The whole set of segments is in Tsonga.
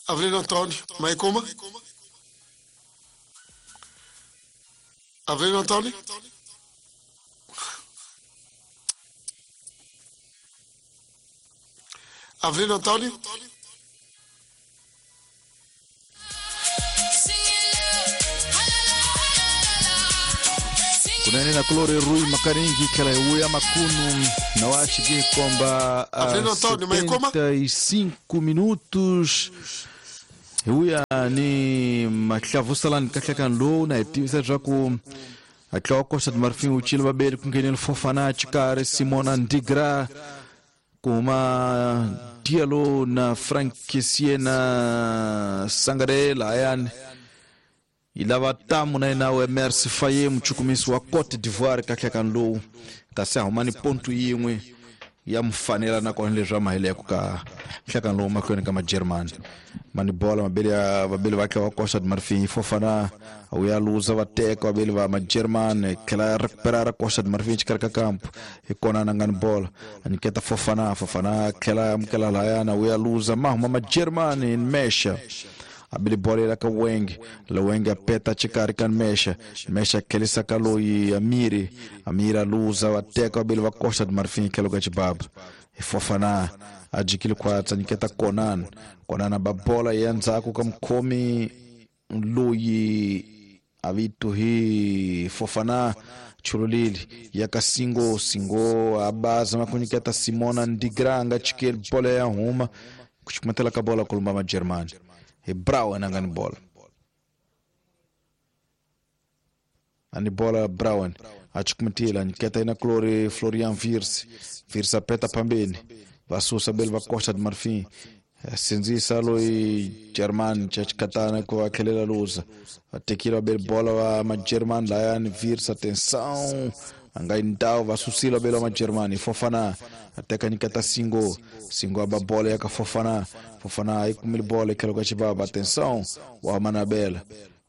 Avelino Antônio, Maikuma. Avelino Antônio. Avelino Antônio. Kunene na kulore Rui Makaringi kala uya makunu na washigi komba 75 minutos uya ni maklavusalan kaklakan lo na etivisa jaku atla Costa do Marfim o Chile babele com quem ele Fofana Chikare Simona Ndigra kuma Diallo na Frank Siena Sangaré Layan ilava tamu na ina o Emerse Faye mchukumisi wa Cote d'Ivoire kaklakan lo kasi ahumani pontu yinwe ya mfanela na kona leswa mahele ka hlakan lo mahlweni ka magerman mani bola mabele ya vabeli va wa Costa do Marfim Fofana uya luza va teka vabeli va magerman tlhela recuperar Costa do Marfim xikarhi ka kampo hi kona na ngani bola aniketa Fofana Fofana tlhela amukela layana uya luza mahuma magerman mesha abili bola ila ka Wenge la Wenge apeta xikarhi ka mesha mesha tlhelisa ka loyi Amiri Amira luza va teka vabeli va Costa do Marfim tlhelo ka xibaba hi Fofana a jikile khwatsa nyiketa Konan Konan ba bola ya ndzhaku ka mukhomi loyi a vito hi Fofana chululili ya ka Singo Singo a baza makunyiketa Simona Ndigra nga chikeli bola ya huma kuchukumatela ka bola kulumba magermani hi Brown angani bola ani bola Brown achukumatela nyiketa ina Clore Florian Virs Virs apeta pambeni vasusa beli va Costa do Marfim sindzisa loyi German chachikatana ku va tlhelela luza vatekile va beli bola va magerman layani Virs atenção a nga yindawo vasusile va beli va magerman Fofana ateka nyiketa Singo Singo aba bola ya ka Fofana Fofana yi kumile bola etlhelo ka xibaba atenção wa manabela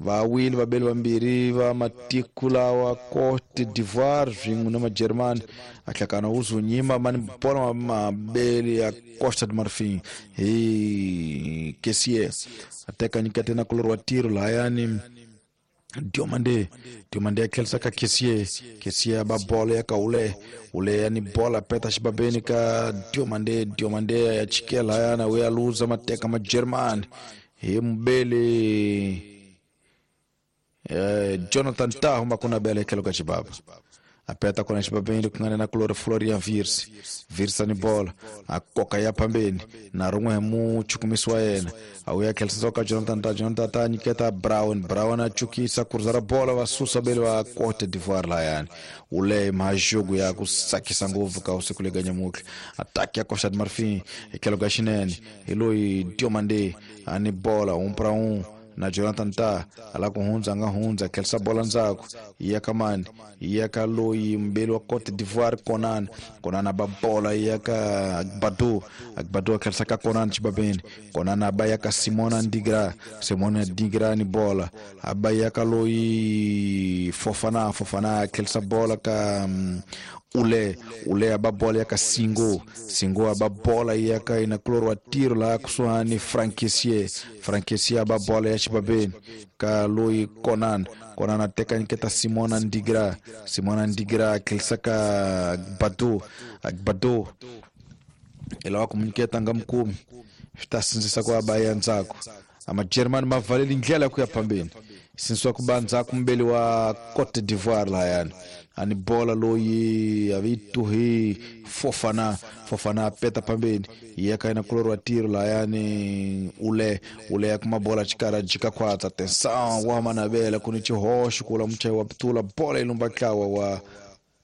va wile vabeli vambirhi va matiko lawa Cote d'Ivoire swin'we na magerman ahlakana uzunyima mani bola mabeli ya Costa do Marfim hi Kessie ateka nyikete na kulori wa tiro lahayani Diomande Diomande atlhelisa ka Kessie Kessie ba bola ya ka Ule Ule yani bola peta xibabeni ka Diomande Diomande ya chikela hayana uya luza mateka magerman hi mubeli Jonathan Tah makuna bela tlhelo ka xibaba apeta kona xibabeni ku nga na kulori Florian Virs Virs ani bola a koka ya phambeni na rin'we hi muchukumisi wa yena a wuya tlhelisa ka Jonathan Tah Jonathan Tah nyiketa Brown Brown a chukisa kurza ra bola va susa beli va Cote d'Ivoire layani ule majogo ya ku tsakisa ngopfu ka usiku lega nyamutlha attack ya Costa do Marfim hi tlhelo ka xinene hi loyi Diomande ani bola 1 para 1 na Jonathan Tah ala ku hundza nga hundza tlhelisa bola ndzhaku ya ka mani ya ka loyi mbeli wa Cote d'Ivoire Konan Konan ba bola ya ka Agbadou Agbadou tlhelisa ka Konan xibabeni Konan aba ya ka Simona Ndigra Simona Ndigra ni bola aba ya ka loyi Fofana Fofana tlhelisa bola ka Ule Ule aba bola ya ka Singo Singo aba bola ya ka ina kulori wa tiro la kusuhani Frankesie Frankesie aba bola ya xibabeni ka loyi Konan Konan ateka nyiketa Simona Ndigra Simona Ndigra tlhelisa ka Agbadou Agbadou ilawa ku munyiketa nga mukumi swi ta sindzisa ku aba ya ndzhaku amagerman ma valeli ndlela ya ku ya phambeni sindzisiwa ku ba ndzhaku mubeli wa Cote d'Ivoire lahayani ani bola loyi a vito hi Fofana Fofana apeta phambeni ya ka ina kulori wa tiro lahayani Ule Ule ya kuma bola xikarhi a jika khwatsa atenção wa manavela ku ni xihoxo kula muchayi wa putula bola yi lumba ntlawa wa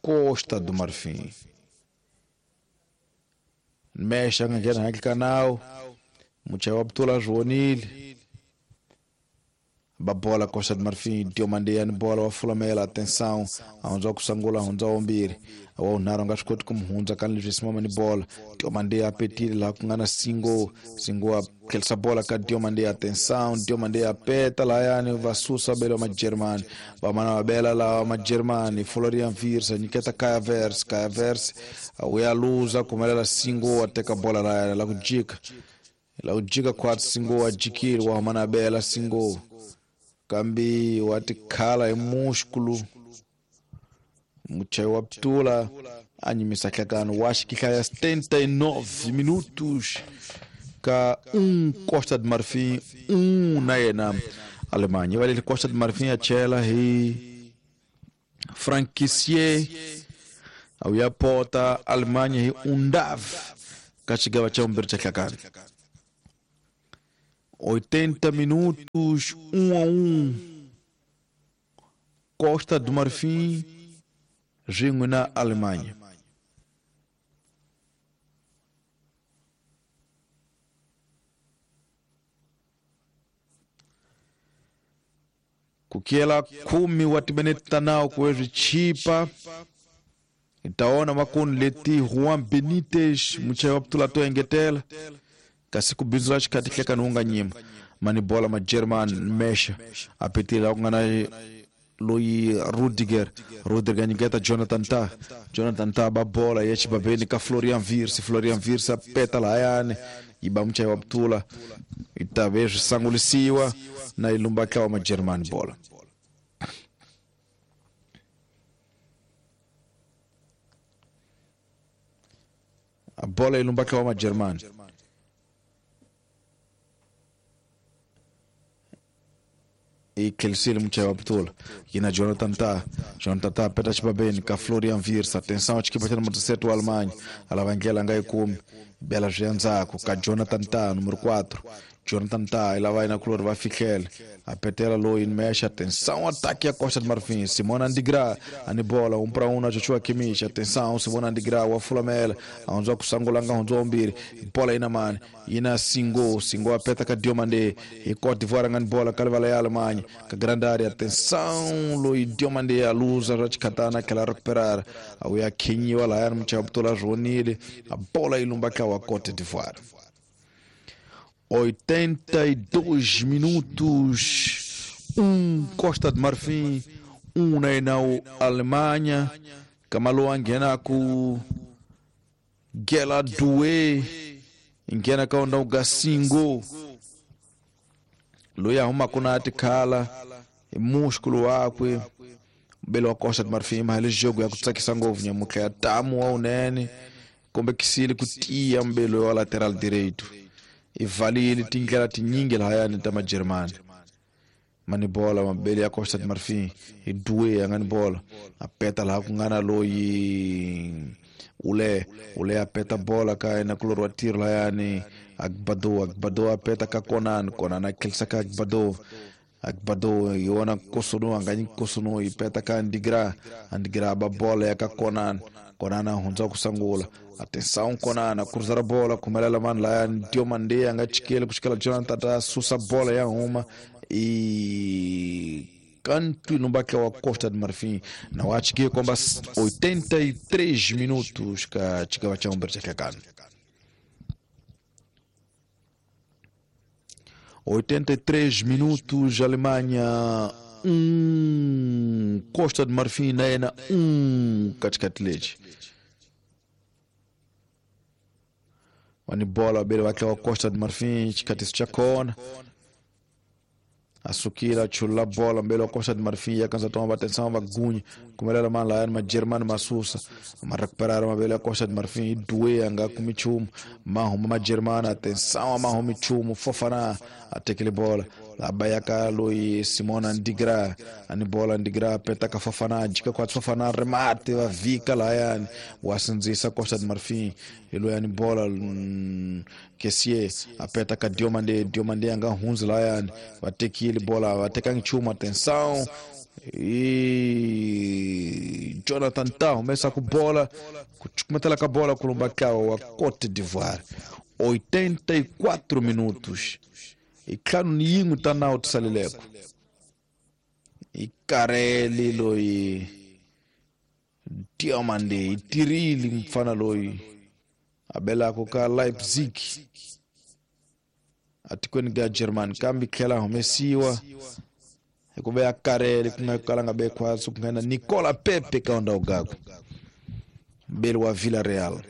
Costa do Marfim mesha nga nghena handle ka nawu muchayi wa putula swi vonile ba bola Costa do Marfim Diomande yani bola wa fulamela atenção a hundza ku sungula hundza wambirhi wa unharhu nga swi koti ku mu hundza ka leswi simama ni bola Diomande a petile laha ku nga na Singo Singo a tlhelisa bola ka Diomande atenção Diomande a peta lahayani va susa bela magerman va mana va bela lawa magerman Florian Virs a nyiketa Kaya Vers Kaya Vers a wuya luza kumelela Singo a teka bola lahayani la ku jika La ujika kwa singo wa jikiri wa humana bela singo kambi watikhala hi músculo muchayi wa ptula anyimisa hlakano wa xikihlaya 79 minutos ka 1 Costa de Marfim 1 na yena Alemanha. Valele Costa de Marfim ya chela hi Frank Kessié au ya pota Alemanha hi Undav ka xigava xa vumbirhi xa hlakano. 80 minutos, 1-1. Costa do Marfim swin'we na Alemanha. Kukiela 10 wa timinete ta nawu ku ve swi chipa. Hi ta vona makunu leti Juan Benitez muchayi wa putula to engetela kasi ku bindzula xikhathi hlekani wu nga nyima mani bola ma German mesha a petile ku nga na loyi Rudiger nyiketa Jonathan Tah ba bola ya xibabeni ka Florian Wirtz a peta lahayani yi ba muchayi wa putula yi ta ve swi sangulisiwa na yi lumba tlawa ma German bola. A bola yi lumba tlawa ma German. E tlherisile muchayi wa putula yina Jonathan Tah peta xibabeni ka Florian Wirtz. Atenção xikipa xa número 7 wa Alemanha a lava ndlela a nga yi kumi bela swi ya ndzhaku ka Jonathan Tah número 4. Jonathan Tah i lava yena kulori va fihlele a petela loyi mexa. Atenção ataque ya Costa de Marfim. Simon Andigra ani bola 1 para 1 na Joshua Kimmich. Atenção Simon Andigra wa fulamela a hundziwa ku sangula nga hundziwa vumbirhi bola yina mani yina Singo a peta ka Diomande hi Cote d'Ivoire nga ni bola ka livala ya Alemanha ka grande área. Atenção loyi Diomande a luza ra xikhatana a tlhela a recuperar a vuya khinyiwa lahayani muchayi wa putula swi a bola yi lumba tlawa Cote d'Ivoire. 82 minutos, 1 Costa de Marfim, 1 na Alemanha. Kamalo nghena ku Gela Doué, nghena ka onda Gasingo loyi a humaka na tikhala hi músculo wakwe mbele wa Costa de Marfim. Mahele jogo ya ku tsakisa ngopfu nyamutlha ya tamu wa unene kombekisile ku tiya mbele wa lateral direito. I valile tindlela tinyingi lahayani ta majeremani mani bola mabele ya Costa de Marfim hi Doué a nga ni bola a peta laha ku nga na loyi ule a peta bola ka yena kulori wa tiro lahayani Agbado a peta ka Konan a tlhelisa ka Agbado hi wona Kosono a nga nyiki Kosono yi peta ka Andigra ba bola ya ka Konan a hundza ku sangula. Atenção Konan a cruzar a bola kumelela mani laya Diomande a nga chikeli ku xikela Jonathan Tah susa bola ya huma e canto no baque wa Costa de Marfim na wa chike komba 83 minutos ka chikava cha umbere cha kano 83 minutos Alemanha 1 Costa de Marfim na yena 1 katikati lexi wani bola bele wakhe wa Costa de Marfim xikhatisi xa kona a sukile a chulula bola mbele wa Costa de Marfim ya kanza toma atenção va gunya kumelela mani lahayani majeremani ma susa ma recuperara mavele ya Costa de Marfim i Doué a nga kumi nchumu ma huma majeremani. Atenção a ma humi nchumu Fofana a tekile bola a ba ya ka loyi Simon Andigra ani bola Andigra peta ka Fofana jika kwa Fofana remate va vika lahayani wa sindzisa Costa de Marfim hi loyi ani bola Kessié a peta ka Diomande a nga hundzi lahayani va tekile bola va teka nchumu. Atenção e Jonathan Tah humesa ku bola ku chukumetela ka bola ku lumba tlawa wa Cote d'Ivoire. 84 minutos i ntlhanu ni yin'we ta nawu ti saleleko i kareli loyi Diomande i tirhile mfana loyi a belaka ka Leipzig atikweni ka Germany kambe tlhela humesiwa hikuva ya karele ku nga kala nga be khwatsi ku nghena Nicola Pepe ka ndhawu gakwe mbeli wa Villarreal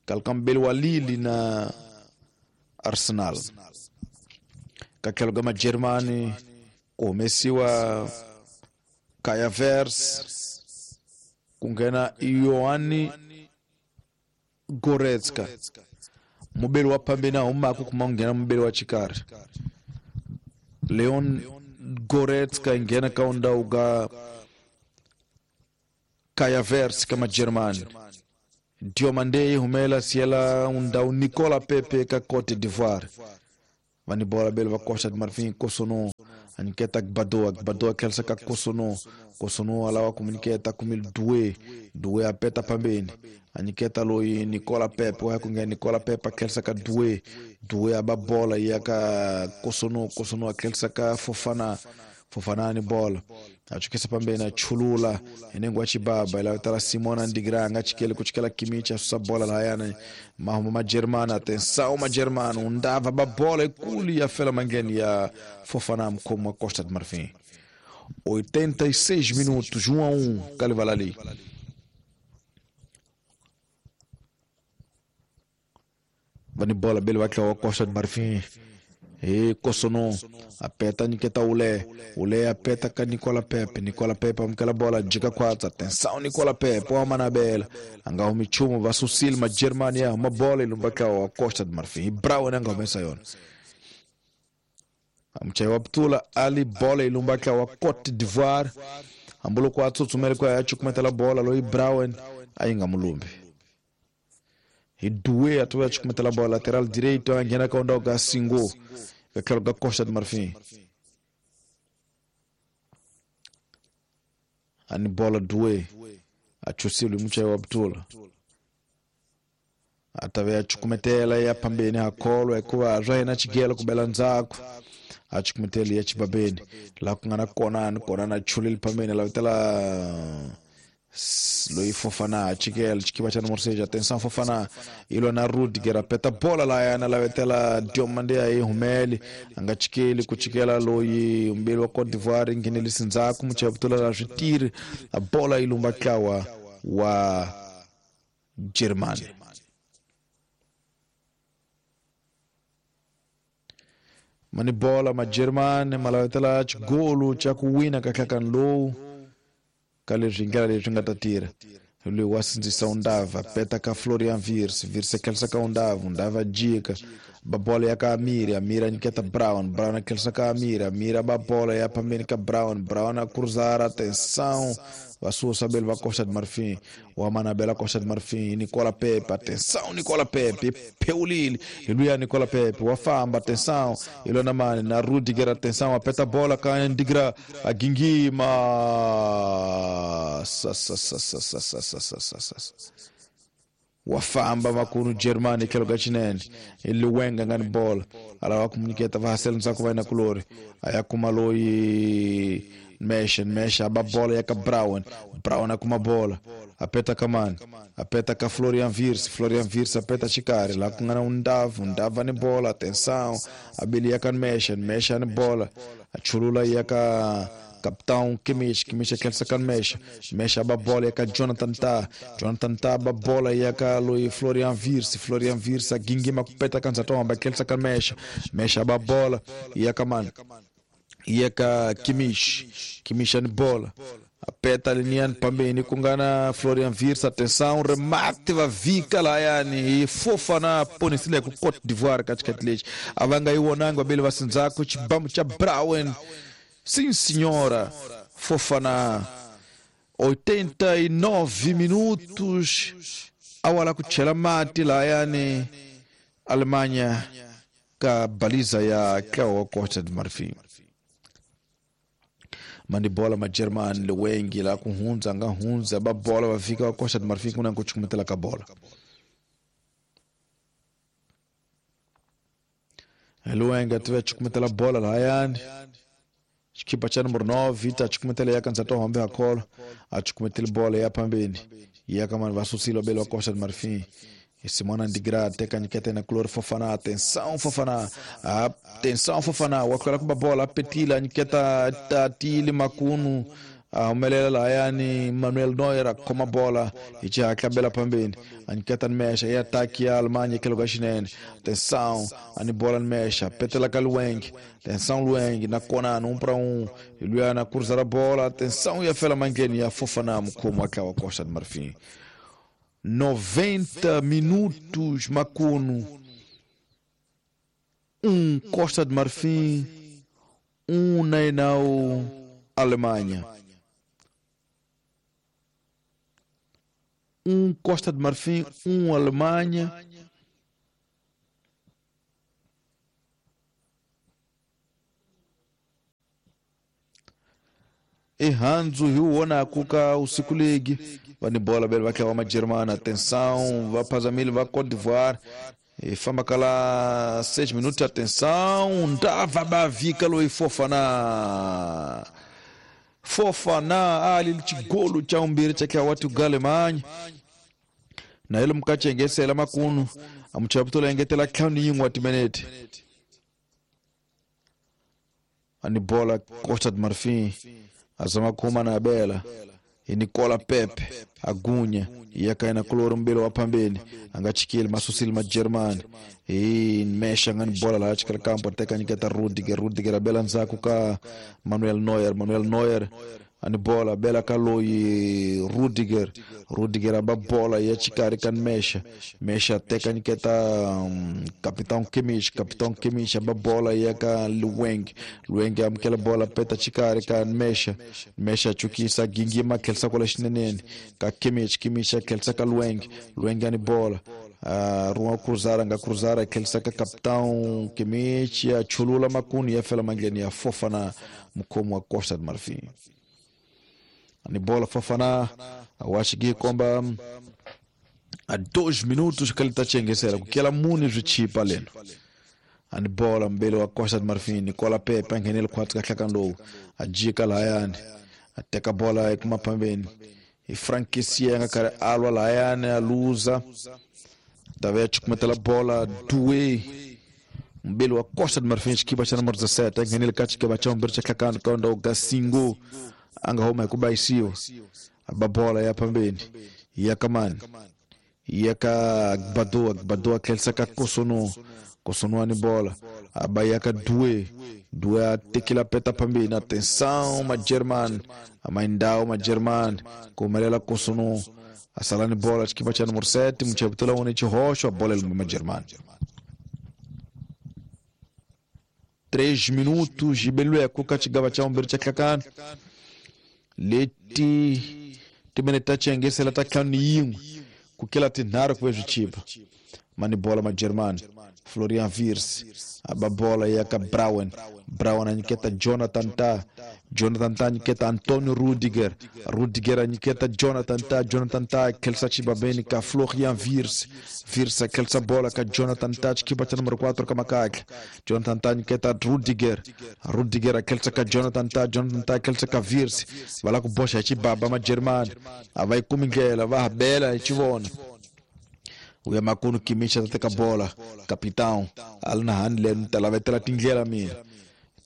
kalka mbeli wa Lille na Arsenal. Ka tlhelo ka Majeremani ku humesiwa Kai Havertz ku nghena Yohani Goretzka. Mubeli wa phambeni a humaka kuma ku nghena mubeli wa xikarhi. Leon Goretzka nghena ka ndhawu ka Kai Havertz ka Majeremani. Diomande humela siela ndhawu Nicola Pepe ka Cote d'Ivoire. Vani bola bele va Costa de Marfim Kosono aniketa Gbadoa, Gbadoa tlherisa ka Kosono, Kosono alawa ku kumil Due, Due apeta pambeni aniketa loyi Nicola Pepe, wa ku nghena Nicola Pepe tlherisa ka Due, Due aba bola ya ka Kosono, Kosono tlherisa ka Fofana, Fofana ni bola achukisa pambeni achulula enengo achibaba ila tala Simona Ndigra nga chikele kuchikela Kimmich asusa bola layana mahuma Majeremani. Atenção Majeremani undava ba bola ikuli ya fela mangeni ya Fofana mkomo wa Costa de Marfim. 86 minutos, 1-1 Kalivalali. Vani bola bele wakla wa Costa de Marfim. E Kosono apeta Niketa Ule, Ule apeta ka Nicola Pepe, Nicola Pepe amkela bola jika kwatsa. Atenção Nicola Pepe wa Manabela anga umichumo vasusil ma Germania ma bola ilumbaka wa Costa de Marfim. Brown anga umesa yona amchai wa Ptula Ali bola ilumbaka wa Cote d'Ivoire ambulo kwa tsutsumele kwa yachukumetela bola loi Brown ainga mulumbi. Idue atuwa chukumetela bola lateral direito angena ka onda ga Singo ka ga Costa de Marfim. Ani bola Due achusili mchai wa Ptula atave achukumetela ya pambeni hakolo ekuwa rena chigelo kubela nzako achukumetela ya chibabeni la kungana kona kona chulil pambeni la vitela Loi Fofana chikela chikiba cha número 6. Atenção Fofana ilo na Rudiger apeta bola la yana la vetela Diomande aí Humeli anga chikeli kuchikela loi umbeli wa Cote d'Ivoire nginelisi nzaku muchabutula la retire a bola ilumba kawa wa Germany. Mani bola ma Germany malavetela chigolu cha kuwina kaklakan low kale ringala leswi nga ta tirha loyi wa sindzisa undava peta ka Florian Wirtz, Wirtz khelisa ka undava, undava jika ba bola ya ka Amiri, Amiri aniketa Brown, Brown khelisa ka Amiri, Amiri ba bola ya pambeni ka Brown, Brown a cruzar, atenção vasusa bele va Costa de Marfim, wa Manabela Costa de Marfim, Nicola Pepe, atenção Nicola Pepe, Peulili, iluya Nicola Pepe, wa famba, atenção, ilona mane na Rudiger, atenção, apeta bola ka Ndigra, a Gingima, sa sa sa sa sa sa sa sa sa sa wafamba makunu Germany kelo gachinene iliwenga ngani bola alawa kumuniketa vahasela ntsako vaina kulori ayakumaloi mesha mesha aba bola yaka Brown, Brown akuma bola apeta kamani apeta ka Florian Wirtz, Florian Wirtz apeta chikari la kungana undavu, undava ni bola, atenção abili yaka mesha, mesha ni bola achulula yaka Capitão Kimmich, Kimmich aquele sacan mexa, mexa a bola e a Jonathan Tah, Jonathan Tah a bola e a Lui Florian Wirtz, Florian Wirtz a Gingima kupeta kanza tomba aquele sacan mexa, mexa a bola e a Kaman, e a Kimmich, Kimmich a bola. Apeta linian pambeni kungana Florian Wirtz, atenção, remate va vika la yani Fofana ponisile ku Cote d'Ivoire katikati lechi avanga iwonanga bele vasinzako chibamu cha Brown. Sim, senhora, Fofana, 89 minutos, awala kuchela mati la yani Alemanha ka baliza ya kwa Costa de Marfim. Mandi bola ma German lewengi la kuhunza nga hunza ba bola wafika wa Costa de Marfim kuna kuchukumetela ka bola. Lewenga tuwe chukumetela bola la yani Chikipa cha número 9, Vita achikumetela yaka nzato hambe hakolo, achikumetela bola ya pambeni. Yaka man vasusilo belo Costa de Marfim. Simona Ndigra teka nyikete na Klor Fofana, atenção Fofana, atenção Fofana, wakola kuba bola petila nyiketa tatili makunu A humelela lahayani Manuel Neuer a khoma bola hi xihatla bela phambeni a nyiketa Nmecha i attack ya Alemanha tlhelo ka xinene. Atenção, a ni bola Nmecha petela ka Lueng. Atenção Lueng na kona 1 para 1 hi luyana cruzar a bola. Atenção ya fela mandleni ya Fofana mukhomi wa ntlawa Costa de Marfim. 90 minutos Makuno 1 Costa de Marfim 1 Nainau Alemanha. 1 Costa de Marfim, 1 Alemanha. Errando Rio Onaku ka usiku league. Vani bola bele vai uma Germana. Atenção, vai Pazamil, vai Côte d'Ivoire. E famba kala 6 minutos, atenção. Dava Bavika loi Fofana. Fofana ali chigolo cha umbiri cha watu Alemanha. Na ilo mkachengesela makunu amuchaputula engetela tlhanu yin'we wa timinete. Ani bola Costa de Marfim azama kuma na bela Nicola Pepe agunya yakaina kuloro mbele wa pambeni angachikile masusili ma Germany e mesha ngani bola la chikala kampo teka nyiketa Rudiger abela nzaku ka Manuel Neuer ani bola bela kaloi Rudiger aba bola ya chikari kan mesha teka nyiketa Capitão Kimmich aba bola ya ka Lueng amkela bola peta chikari kan mesha chukisa gingima kelsa kola xinenene ka Kimmich kelsa ka Lueng ani bola Ruan cruzara nga cruzara kelsa ka Capitão Kimmich ya chulula makuni ya fela mangleni ya Fofana mkomo wa Costa de Marfim. Ni bola Fofana awashigi komba a 2 minutos que ele tá chengesera kukela muni zwichipa leno. Ani bola mbele wa Costa de Marfim Nicola Pepe angenele khwatsi ka hlakando ajika layani ateka bola ekuma pambeni e Frank Kessié nga kare alwa layani aluza tave chukumetela bola Doué mbele wa Costa de Marfim chikipa cha número 17 angenele kachikipa cha mbele cha hlakando kaunda Gasingo anga homa kubaisiwa ababola ya pambeni ya kamani yaka Badoa kelsa ka Kosono ani bola abayaka Doué atekila peta pambeni. Atenção ma German amaindao ma German kumelela Kosono asalani bola chikipa cha número 7 mcheputula one chihosho bola ma German. 3 minutos ibelwe kukachigaba cha mbere cha kakana leti timeneta chengesela taklanu yin'we kukela tinharhu ku ve swichipa mani bola ma German Florian Wirtz aba bola ya ka Brown anyiketa Jonathan Ta anyiketa Antonio Rudiger anyiketa Jonathan Ta kelsa chibabeni ka Florian Wirtz kelsa bola ka Jonathan Ta chikipa cha número 4 ka makakla Jonathan Ta anyiketa Rudiger kelsa ka Jonathan Ta kelsa ka Wirtz vala ku boxa chibaba ma German avai kumingela va bela chivona uya makunu Kimmich ateka bola capitão alna handle talavetela tindlela mina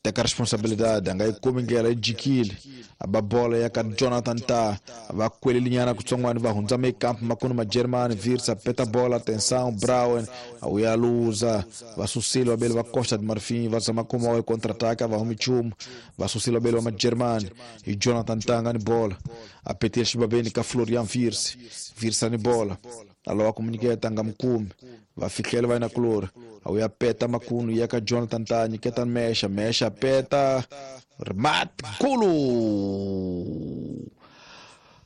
teka responsabilidade anga ikumingela ijikile aba bola ya ka Jonathan Ta va kwelelinyana kutsongwani va hundza mekamp makunu ma German Wirtz peta bola. Atenção Brown uya luza va susile vabele va Costa de Marfim va zama kuma wa contra-ataque va humi chumu va susile vabele va ma German e Jonathan Ta ngani bola apetir xibabeni ka Florian Wirtz ani bola alowa kumunyiketa nga mukumi va fihlela va yina kulori awuya peta makunu ya ka Jonathan Ta nyiketa mesha peta remate golo.